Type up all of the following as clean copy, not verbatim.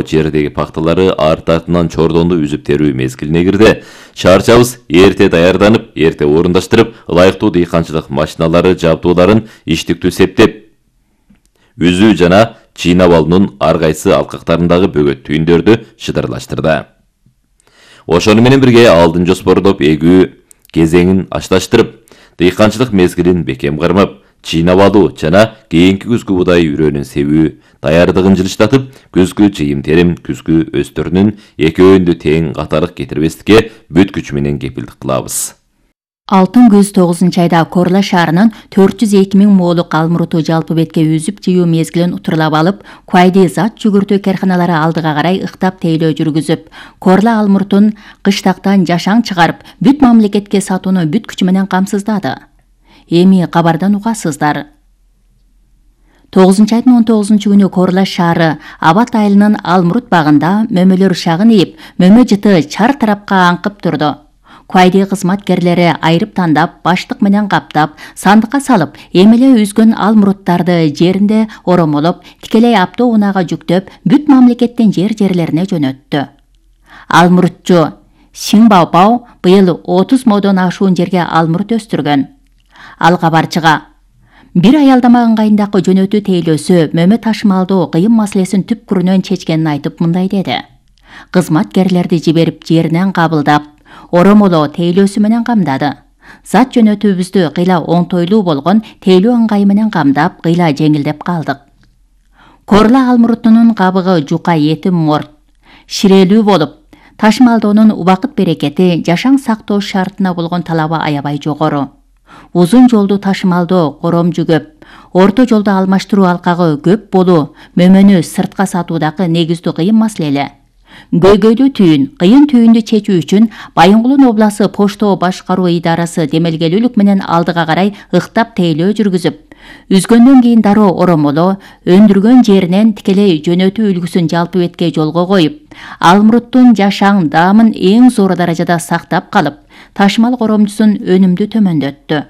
жердеги пакталары арт-артынан чордонду үзүп терүү мезгилине кирди. Чарчабыз эрте даярданып, эрте орундаштырып, ылайыктуу дыйканчылык машиналары жабдууларын иштиктүү септеп, үзүү жана чыйнап алуунун ар кайсы алкактарындагы бөгөт түйүндөрдү шыдырлаштырды. Ошону менен бирге алдын жоспордоп эгүү кезеңин ашташтырып, дыйканчылык мезгилин бекем кармап, чыйнап алуу жана кийинки күзгү будай үрөөнүн себүү даярдыгын жылыштатып, күзгү жыйым-терим, күзгү өстөрүнүн экөөнү тең катарлык кетирбестикке бүт күч менен кепилдик кылабыз. Алтын көз 9-айда Корла шаарынын 402 000 моолук алмуруту жалпы бетке үзүп жыюу мезгилин утурлап алып, Куайди зат жүгүртүү карканалары алдыга карай ыктап тейлөө жүргүзүп, Корла алмурутун кыштактан жашаң чыгарып, бүт мамлекетке сатууну бүт күчү менен камсыздады. Эми кабардан угасыздар. 9-айдын 19-күнү Корла шаары Абат айылынын Алмурут багында мөмөлөр шагын ийип, мөмө жыты чар тарапка аңкып турду. Куайди кызматкерлери айрып тандап, баштык менен каптап, сандыкка салып, эмеле үзгөн алмуруттарды жеринде оромолоп, тикелей автоунаага жүктөп, бүт мамлекеттин жерлерине жөнөттү. Алмурутчу Сиңбаопау быйыл 30 модон ашуун жерге алмурут өстүргөн. Ал кабарчыга бир аялдама ыңгайындагы жөнөтүү тейлөөсү мөмө ташымалдоо кыйын маселесин түпкүрүнөн чечкенин айтып мындай деди. Кызматкерлерди жиберип жеринен кабылдап, оромолоо тейлөөсү менен камдады. Зат жөнөтүүбүздү кыйла оңтойлуу болгон тейлөө ыңгайы менен камдап, кыйла жеңилдеп калдык. Корла алмурутунун кабыгы жука этим морт, ширелүү болуп, ташымалдоонун убакыт берекети жашаң сактоо шартына болгон талабы аябай жогору. Узун жолду ташымалдоо коромжу көп, орто жолду алмаштыруу алкагы көп болуу мөмөнү сыртка сатуудагы негиздүү кыйын маселе. Көйгөйлүү түйүн, кыйын түйүндү чечүү үчүн Байынгулун обласы Поштоо башкаруу идарасы демелгелүүлүк менен алдыга карай ыктап тейлөө жүргүзүп, үзгөндөн кийин дароо оромолоо, өндүргөн жеринен тикелей жөнөтүү үлгүсүн жалпы бетке жолго коюп, алмуруттун жашаң даамын эң зор даражада сактап калып, ташымал коромжусун өнүмдүү төмөндөттү.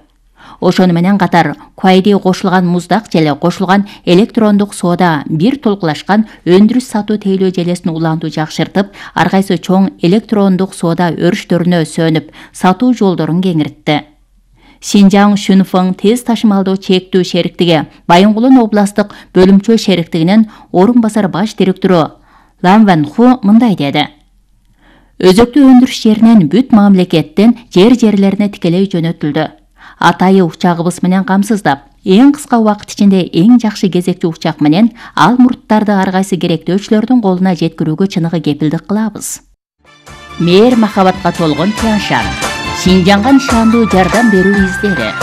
Ошону менен катар Куайди кошулган муздак желе кошулган электрондук соода бир толкулашкан өндүрүш сатуу тейлөө желесин улантуу жакшыртып, ар кайсы чоң электрондук соода өрүштөрүнө сөнүп, сатуу жолдорун кеңиртти. Шинжаң Шүнфың тез ташымалдоо чектүү шериктиги Байынгулун областык бөлүмчө шериктигинин орун басар баш директору Лан Ван Ху мындай деди. Өзөктүү өндүрүш жеринен бүт мамлекеттин жерлерине тикелей жөнөтүлдү. Атайы учагыбыз менен камсыздап, эң кыска убакыт ичинде эң жакшы кезекчи учак менен алмуруттарды ар кайсы керектөөчүлөрдүн колуна жеткирүүгө чыныгы кепилдик кылабыз. Мээр махабатка толгон Тяншан, Шинжаңга нышандуу жардам берүү издери.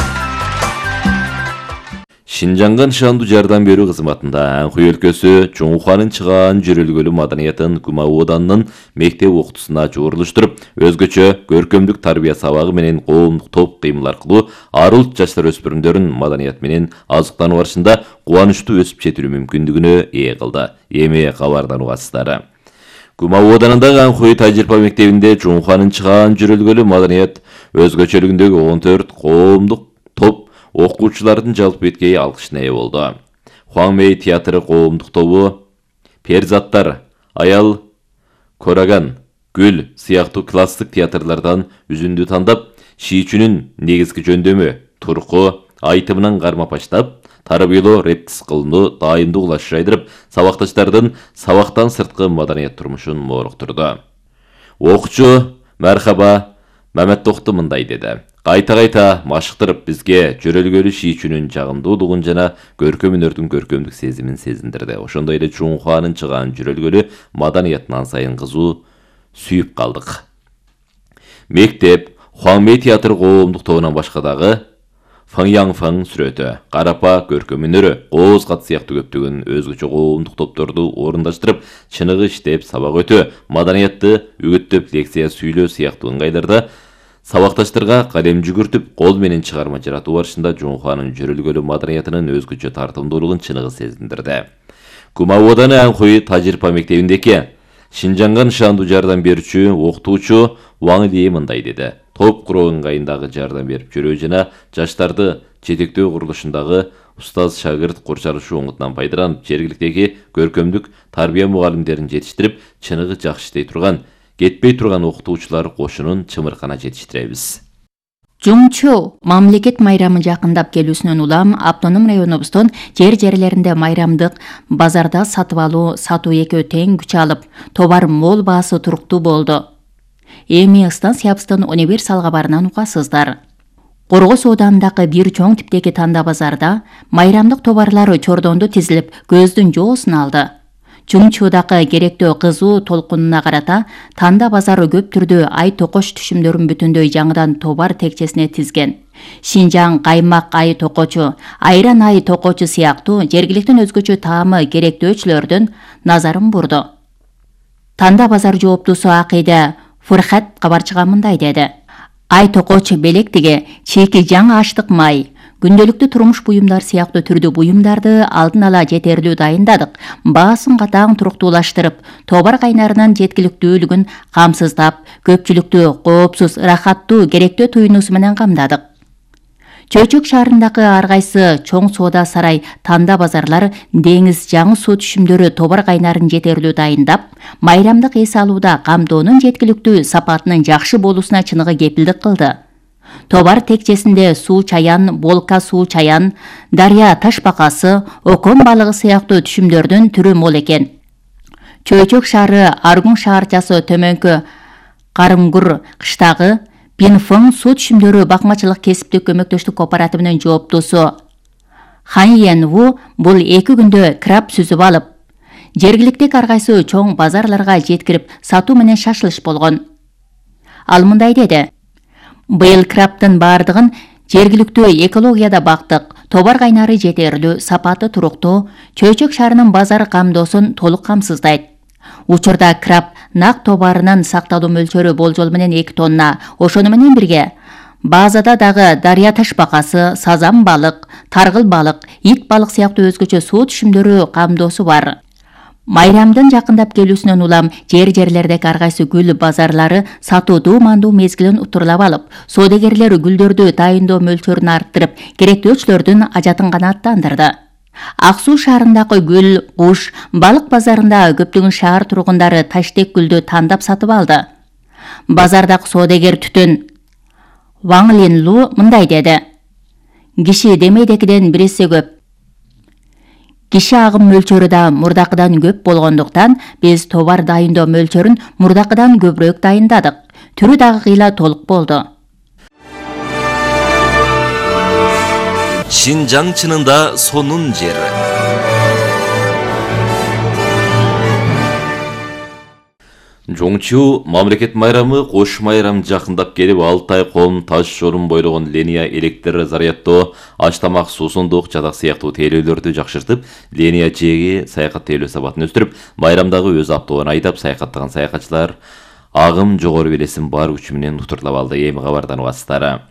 Шинжаңга нышандуу жардам берүү кызматында Анхуй өлкөсү Чоңуханын чыгаан жүрөлгөлүү маданиятын Кума Оданынын мектеп окутуусуна жуурулуштуруп, өзгөчө көркөмдүк тарбия сабагы менен коомдук топ кыймыл аркылуу арылт жаштар өспүрүмдөрүн маданият менен азыктануу барышында кубанычтуу өсүп жетилүү мүмкүндүгүнө ээ кылды. Эми кабардан угасыздар. Кума Оданындагы Анхуй тажрыйба мектебинде Чоңуханын чыгаан жүрөлгөлүү маданият өзгөчөлүгүндөгү 14 коомдук топ окуучулардын жалпы беткей алкышына ээ болду. Хуаңмэй театры коомдук тобу Перзаттар, Аял, Кораган, Гүл сыяктуу класстык театрлардан үзүндү тандап, шийчүнүн негизги жөндөмү, турку, айтымынан кармап баштап, тарбиялоо репетис кылууну дайымдуу улаш жайдырып, сабакташтардын сабактан сырткы маданият турмушун мооруктурду. Окуучу Мархаба Маметтокту мындай деди. Кайта-кайта машыктырып бизге жөрөлгөлүү шийчүнүн жагымдуулугун жана көркөм өнөрдүн көркөмдүк сезимин сезиндирди. Ошондой эле Чоңуханын чыгаан жүрөлгөлүү маданиятын ан сайын кызуу сүйүп калдык. Мектеп Хуаңмэй театр коомдук тобунан башка дагы Фаңяңфаң сүрөтү, Карапа көркөм өнөрү, Кооз кат сыяктуу көптөгөн өзгөчө коомдук топторду орундаштырып, чыныгы иштеп, сабак өтүү, маданиятты үгүттөп, лекция сүйлөө сыяктуу ыңгайларда сабакташтарга калем жүгүртүп, кол менен чыгарма жаратуу барышында Чоңуханын жүрөлгөлүү маданиятынын өзгөчө тартымдуулугун чыныгы сезиндирди. Кума Оданы Анхуй тажрыйба мектебиндеки Шинжаңга нышандуу жардам берүүчү окутуучу Ваң Ли мындай деди. Топ куруу ыңгайындагы жардам берип жүрүү жана жаштарды жетектөө курулушундагы устаз шагырт курчалышуу оңутунан пайдаланып, жергиликтеги көркөмдүк тарбия мугалимдерин жетиштирип, чыныгы жакшы иштей турган, кетпей турган окутуучулар кошунун чымыркана жетиштиребиз. Жумчу мамлекет майрамы жакындап келүүсүнөн улам автоном районубуздун жерлеринде майрамдык базарда сатып алуу, сатуу экөө тең күч алып, товар мол, баасы туруктуу болду. Эми станциябыздын универсал кабарынан угасыздар. Коргос оодандагы бир чоң типтеги танда базарда майрамдык товарлар чордондо тизилип, көздүн жоосун алды. Жумчуудагы керектөө кызуу толкунуна карата танда базары көп түрдүү ай токоч түшүмдөрүн бүтүндөй жаңыдан товар текчесине тизген. Шинжаң каймак ай токочу, айран ай токочу сыяктуу жергиликтин өзгөчө таамы керектөөчүлөрдүн назарын бурду. Танда базар жооптусу Акыйда Фурхат кабарчыга мындай деди. Ай токоч белектиги, чийки жаңы аштык май, күндөлүктүү турмуш буюмдар сыяктуу түрдүү буюмдарды алдын ала жетерлүү дайындадык. Баасын катаң туруктуулаштырып, товар кайнарынын жеткиликтүүлүгүн камсыздап, көпчүлүктү коопсуз, ырахаттуу, керектөө туюнуусу менен камдадык. Чөйчөк шаарындагы ар кайсы чоң соода сарай, танда базарлар деңиз жаңы суу түшүмдөрү товар кайнарын жетерлүү дайындап, майрамдык эс алууда камдоонун жеткиликтүү сапатынын жакшы болуусуна чыныгы кепилдик кылды. Товар текчесинде суу чаян, болка суу чаян, дарья ташбакасы, окон балыгы сыяктуу түшүмдөрдүн түрү мол экен. Чөйчөк шаары Аргун шаарчасы төмөнкү Карымгур кыштагы Пинфон суу түшүмдөрү бакмачылык кесиптик көмөктөштүк кооперативинин жооптусу Хан Йен-ву бул 2 күндө краб сүзүп алып, жергиликтеги ар кайсы чоң базарларга жеткирип сатуу менен шашылыш болгон. Ал мындай деди. Быйыл крабтын бардыгын жергиликтүү экологияда бактык, товар кайнары жетерлүү, сапаты туруктуу, Чөйчөк шаарынын базар камдоосун толук камсыздайт. Учурда краб нак товарынын сакталуу мөлчөрү болжол менен 2 тонна, ошону менен бирге базада дагы дарья ташбакасы, сазан балык, таргыл балык, ит балык сыяктуу өзгөчө суу түшүмдөрү камдоосу бар. Майрамдын жакындап келүүсүнөн улам жерлердеги ар кайсы гүл базарлары сатуудуу мандуу мезгилин утурлап алып, соодагерлер гүлдөрдү дайындоо мөлчөрүн арттырып, керектөөчүлөрдүн ажатын канааттандырды. Ак Суу шаарындагы гүл, куш, балык базарында көптөгөн шаар тургундары таштек гүлдү тандап сатып алды. Базардагы соодагер Түтүн Ваң Линлу мындай деди. Киши демейдекиден 1 эсе көп. Киши агым мөлчөрү да мурдакыдан көп болгондуктан биз товар дайындоо мөлчөрүн мурдакыдан көбүрөөк дайындадык. Түрү дагы кыйла толук болду. Шинжаң чынында сонун жери. Жоңчу мамлекет майрамы кош майрам жакындап келип, Алтай ком таш жолун бойлогон линия электр заряддоо, аш тамак, суусундук, жадак сыяктуу тейлөөлөрдү жакшыртып, линия жээги саякат тейлөө сапатын өстүрүп, майрамдагы өз автоон айдап саякаттаган саякатчылар агым жогору белесин бар күчү менен утурлап алды. Эми кабардан угасыздар.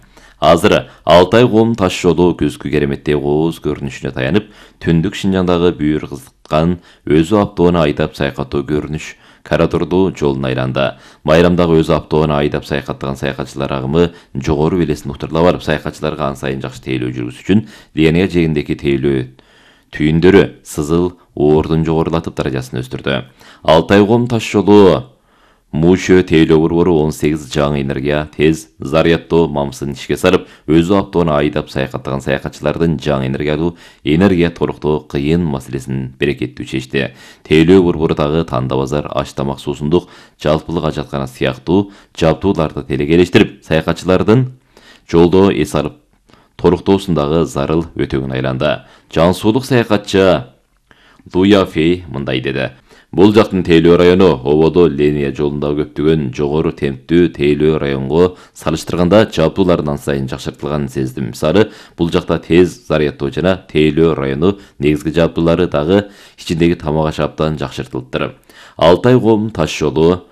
Азыр Алтай ком таш жолу күзгү кереметтей кооз көрүнүшүнө таянып, түндүк Шинжаңдагы бүйүр кызыккан өзү автоону айдап саякаттоо көрүнүш Карадурду жолун айланды. Майрамдагы өзү автоону айдап саякаттаган саякатчылар агымы жогору белесин утурлап алып, саякатчыларга ан сайын жакшы тейлөө жүргүзүш үчүн линия жээгиндеги тейлөө түйүндөрү сызыл оордун жогорулатып даражасын өстүрдү. Алтай ком таш жолу Мушө тейлөө борбору 18 жаңы энергия тез заряддоо мамысын ишке салып, өзү автоону айдап саякаттаган саякатчылардын жаңы энергия толуктоо кыйын маселесин берекеттүү чечти. Тейлөө борбору дагы танда базар, аш тамак, суусундук, жалпылык ажаткана сыяктуу жабдууларды телекелештирип, саякатчылардын жолдо эс алып толуктоосундагы зарыл өтөгүн айланды. Жан суулук саякатчы Луя Фей мындай деди. Бул жактын тейлөө району ободо линия жолунда көптөгөн жогору темптүү тейлөө районго салыштырганда жабдуулардан сайын жакшыртылганын сездим. Мисалы, бул жакта тез заряддоо жана тейлөө району негизги жабдуулары дагы ичиндеги тамак аш абдан жакшыртылыптыр. Алтай ком таш жолу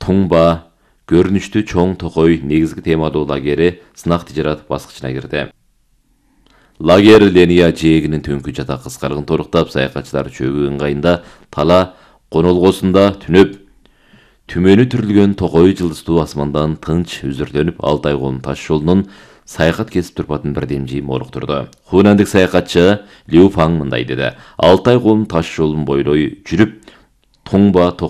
Туңба көрүнүштүү чоң токой негизги темалуу лагери сынак тижарат баскычына кирди. Лагер линия жээгинин түнкү жата кыскаргын торуктап, саякатчылар чөгүү ыңгайында тала конолгосунда түнөп, түмөнү түрүлгөн токой жылдыздуу асмандан тынч үзүрлөнүп, Алтай ком таш жолунун саякат кесип турпатын бирдемжи молуктурду. Хунандык саякатчы Лю Фаң мындай деди: 6 ай колун таш жолун бойлой жүрүп, тоңба